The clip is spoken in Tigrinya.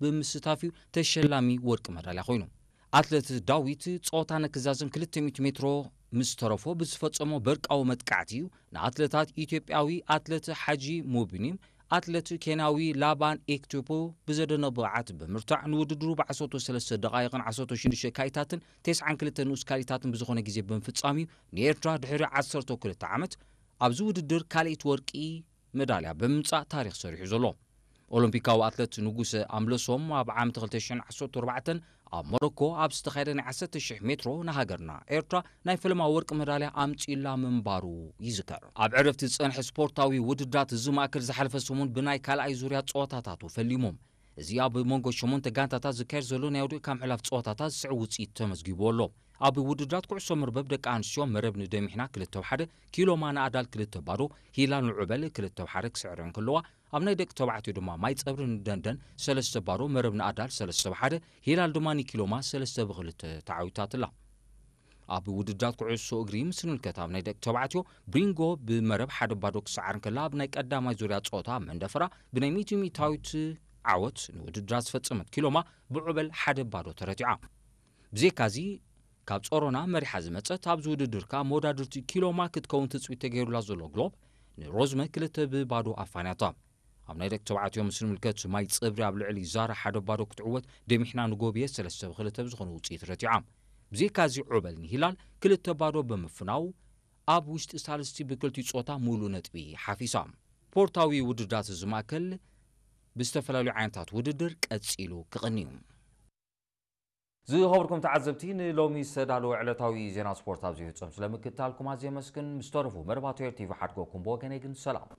ብምስታፍ እዩ ተሸላሚ ወርቂ መዳልያ ኮይኑ። ኣትለት ዳዊት ጸወታ ነክዛዝም ክልተ ሚእቲ ሜትሮ ምስ ተረፎ ብዝፈጸሞ በርቃዊ መጥቃዕቲ እዩ ንኣትለታት ኢትዮጵያዊ ኣትለት ሓጂ ሙቢኒም ኣትለት ኬንያዊ ላባን ኤክቱፖ ብዘደነቕ ብቕዓት ብምርታዕ ንውድድሩ ብ ዓሰርተ ሰለስተ ደቓይቕን ዓሰርተ ሽዱሽተ ካይታትን ተስዓን ክልተ ንኡስ ካሊታትን ብዝኾነ ግዜ ብምፍጻም እዩ ንኤርትራ ድሕሪ ዓሰርተ ክልተ ዓመት ኣብዚ ውድድር ካልኣይቲ ወርቂ መዳልያ ብምምጻእ ታሪኽ ሰሪሑ ዘሎ። ኦሎምፒካዊ ኣትለት ንጉሰ ኣምለሶም ኣብ ዓመት ክልተ ሽሕን ዓሰርተ ኣርባዕተን ኣብ ሞሮኮ ኣብ ዝተኻየደ ናይ ዓሰርተ ሽሕ ሜትሮ ንሃገርና ኤርትራ ናይ ፈለማ ወርቂ መዳልያ ኣምጺእላ ምንባሩ ይዝከር። ኣብ ዕረፍቲ ዝጸንሐ ስፖርታዊ ውድድራት እዚ ማእከል ዝሓለፈ ሰሙን ብናይ ካልኣይ ዙርያ ጸወታታቱ ፈሊሞም። እዚ ኣብ መንጎ ሸሞንተ ጋንታታት ዝካየድ ዘሎ ናይ ውድእ ካብ ምሕላፍ ጸወታታት ዝስዕብ ውጽኢት ተመዝጊቡ ኣሎ። ኣብ ውድድራት ኩዕሶ መርበብ ደቂ ኣንስትዮ መረብ ንደሚሕና ክልተ ብ ሓደ፣ ኪሎማ ንኣዳል ክልተ ባዶ፣ ሂላል ንዑበል ክልተ ብ ሓደ ክስዕረን ከለዋ፣ ኣብ ናይ ደቂ ተባዕትዮ ድማ ማይ ጸብሪ ንደንደን ሰለስተ ባዶ፣ መረብ ንኣዳል ሰለስተ ብ ሓደ፣ ሂላል ድማ ንኪሎማ ሰለስተ ብ ክልተ ተዓዊታትላ። ኣብ ውድድራት ኩዕሶ እግሪ ምስ ንምልከት ኣብ ናይ ደቂ ተባዕትዮ ብሪንጎ ብመረብ ሓደ ባዶ ክሰዓር እንከላ ኣብ ናይ ቀዳማይ ዙርያ ጸወታ መንደፈራ ብናይ ሚእቲ ሚእታዊት ዓወት ንውድድራ ዝፈጸመት ኪሎማ ብዑበል ሓደ ባዶ ተረቲዓ። ብዘይካዚ ካብ ጾሮና መሪሓ ዝመጸት ኣብዚ ውድድር ከኣ መወዳድርቲ ኪሎማ ክትከውን ትጽቢት ተገይሩላ ዘሎ ግሎብ ንሮዝመ ክልተ ብባዶ ኣፋንያታ። ኣብ ናይ ደቂ ተባዕትዮ ምስ ንምልከት ማይ ጽብሪ ኣብ ልዕሊ ዛራ ሓደ ባዶ ክትዕወት ደሚሕና ንጎብየ ሰለስተ ብ ክልተ ብዝኾነ ውጽኢት ረቲዓ። ብዘይካዚ ዑበል ንሂላል ክልተ ባዶ ብምፍናው ኣብ ውሽጢ ሳልስቲ ብክልቲኡ ጾታ ሙሉእ ነጥቢ ሓፊሳ። ስፖርታዊ ውድድራት እዚ ማእከል ብዝተፈላለዩ ዓይነታት ውድድር ቀጺሉ ክቕኒ እዩ። ዝኸበርኩም ተዓዘብቲ ንሎሚ ዝተዳለወ ዕለታዊ ዜና ስፖርት ኣብዚ ይፍጸም። ስለምክትታልኩም ኣዝየ የመስግን። ምስ ተረፉ መርባቶ ኤር ቲቪ ሓድጎኩም ብወገነይ ግን ሰላም።